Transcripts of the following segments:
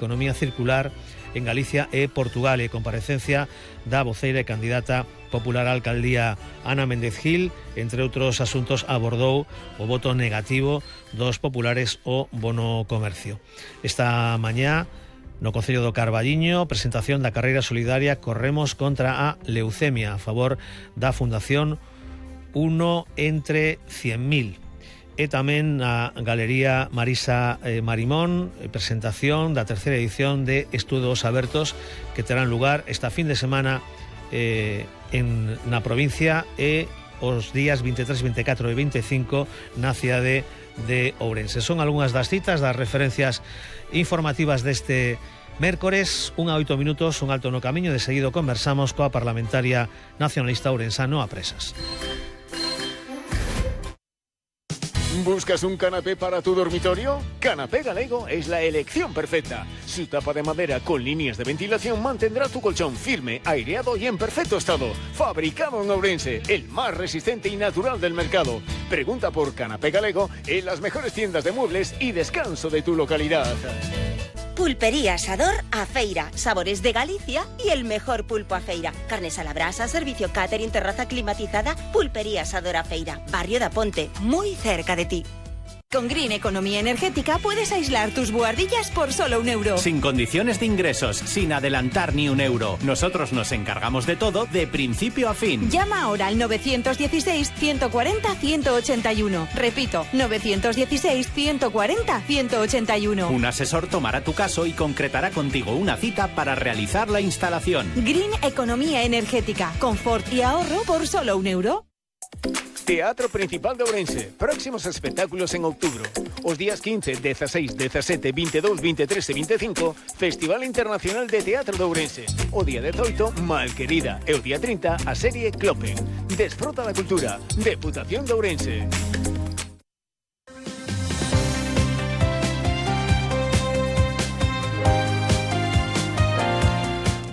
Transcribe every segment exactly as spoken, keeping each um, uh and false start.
Economía circular en Galicia e Portugal, e comparecencia da voceira e candidata popular á alcaldía Ana Méndez Gil. Entre outros asuntos abordou o voto negativo dos populares ao bono comercio. Esta mañá, no Concello do Carballiño, presentación da carreira solidaria Corremos contra a leucemia, a favor da Fundación Uno entre cien mil. E tamén a Galería Marisa eh, Marimón, presentación da terceira edición de Estudos Abertos, que terán lugar esta fin de semana eh, en, na provincia e os días veintitrés, veinticuatro e veinticinco na cidade de Ourense. Son algunhas das citas, das referencias informativas deste mércores. Un a oito minutos, un alto no camiño. De seguido conversamos coa parlamentaria nacionalista ourensano a Presas. ¿Buscas un canapé para tu dormitorio? Canapé Galego es la elección perfecta. Su tapa de madera con líneas de ventilación mantendrá tu colchón firme, aireado y en perfecto estado. Fabricado en Ourense, el más resistente y natural del mercado. Pregunta por Canapé Galego en las mejores tiendas de muebles y descanso de tu localidad. Pulpería Asador A Feira, sabores de Galicia y el mejor pulpo a feira. Carnes a la brasa, servicio catering, terraza climatizada. Pulpería Asador A Feira, Barrio da Ponte, muy cerca de ti. Con Green Economía Energética puedes aislar tus buhardillas por solo un euro. Sin condiciones de ingresos, sin adelantar ni un euro. Nosotros nos encargamos de todo de principio a fin. Llama ahora al nueve uno seis, ciento cuarenta, ciento ochenta y uno. Repito, nueve uno seis, ciento cuarenta, ciento ochenta y uno. Un asesor tomará tu caso y concretará contigo una cita para realizar la instalación. Green Economía Energética. Confort y ahorro por solo un euro. Teatro Principal de Ourense. Próximos espectáculos en outubro. Os días quince, dieciséis, diecisiete, veintidós, veintitrés e veinticinco, Festival Internacional de Teatro de Ourense. O día dezoito, Malquerida. E o día trinta, a serie Clopen. Desfruta da cultura. Deputación de Ourense.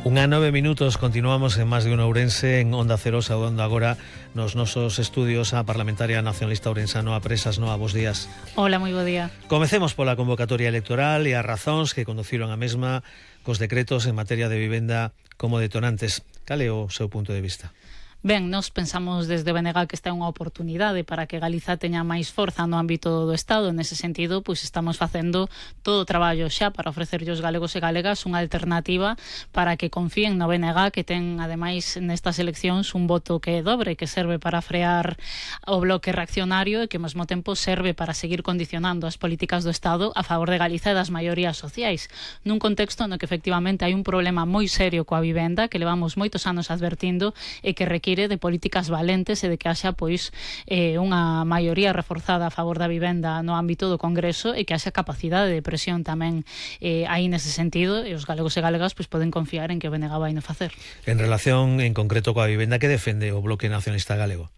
Unha nove minutos, continuamos en Más de un Ourense, en Onda Cero, saudando agora nos nosos estudios a parlamentaria nacionalista ourensano a Presas. Noa, bos días. Hola, moi bo día. Comecemos pola convocatoria electoral e as razóns que conduciron a mesma cos decretos en materia de vivenda como detonantes. Cal é o seu punto de vista? Ben, nós pensamos desde B N G que esta é unha oportunidade para que Galiza teña máis forza no ámbito do Estado. Nese sentido, pois estamos facendo todo o traballo xa para ofrecerlle aos galegos e galegas unha alternativa para que confíen no B N G, que ten, ademais, nestas eleccións un voto que é dobre, que serve para frear o bloque reaccionario e que, ao mesmo tempo, serve para seguir condicionando as políticas do Estado a favor de Galiza e das maiorías sociais, nun contexto no que, efectivamente, hai un problema moi serio coa vivenda que levamos moitos anos advertindo e que requiere de políticas valentes e de que haxa pois eh, unha maioría reforzada a favor da vivenda no ámbito do Congreso e que haxa capacidade de presión tamén eh, aí nese sentido, e os galegos e galegas pois poden confiar en que o B N G vai no facer. En relación en concreto coa vivenda, que defende o Bloque Nacionalista Galego?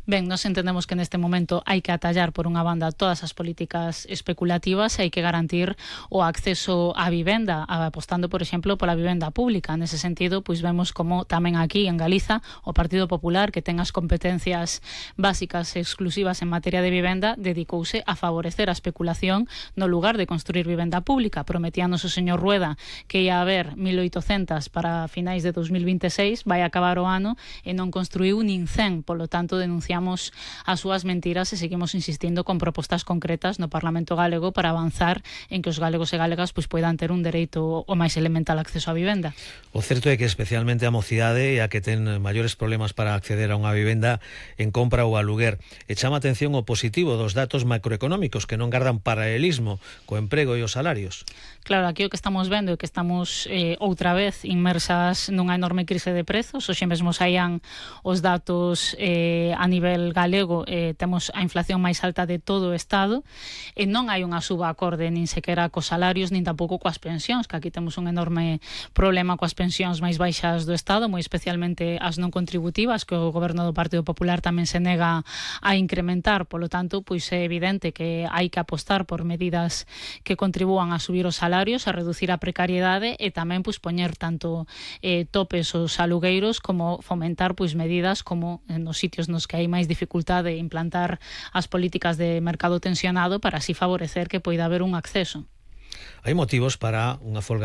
Ben, nos entendemos que neste momento hai que atallar por unha banda todas as políticas especulativas e hai que garantir o acceso á vivenda, apostando, por exemplo, pola vivenda pública. Nese sentido, pois vemos como tamén aquí en Galiza o Partido Popular, que ten as competencias básicas e exclusivas en materia de vivenda, dedicouse a favorecer a especulación no lugar de construir vivenda pública. Prometíanos o señor Rueda que ia haber mil oitocentas para finais de dos mil veintiséis, vai acabar o ano e non construiu nin cen, polo tanto denunciamos as súas mentiras e seguimos insistindo con propostas concretas no Parlamento galego para avanzar en que os galegos e galegas pois poidan ter un dereito o máis elemental acceso á vivenda. O certo é que especialmente a mocidade é a que ten maiores problemas para acceder a unha vivenda en compra ou aluguer. E chama atención o positivo dos datos macroeconómicos que non gardan paralelismo co emprego e os salarios. Claro, aquí o que estamos vendo é que estamos eh, outra vez inmersas nunha enorme crise de prezos. Hoxe mesmo saían os datos eh, a nivel galego, eh, temos a inflación máis alta de todo o Estado e non hai unha suba acorde nin sequera cos salarios nin tampouco coas pensións, que aquí temos un enorme problema coas pensións máis baixas do Estado, moi especialmente as non contributivas, que o goberno do Partido Popular tamén se nega a incrementar. Polo tanto, pois é evidente que hai que apostar por medidas que contribúan a subir os salarios, a reducir a precariedade e tamén pois poñer tanto eh, topes aos alugueiros como fomentar pois medidas como nos sitios nos que hai máis dificultade de implantar as políticas de mercado tensionado para así favorecer que poida haber un acceso. Hai motivos para unha folga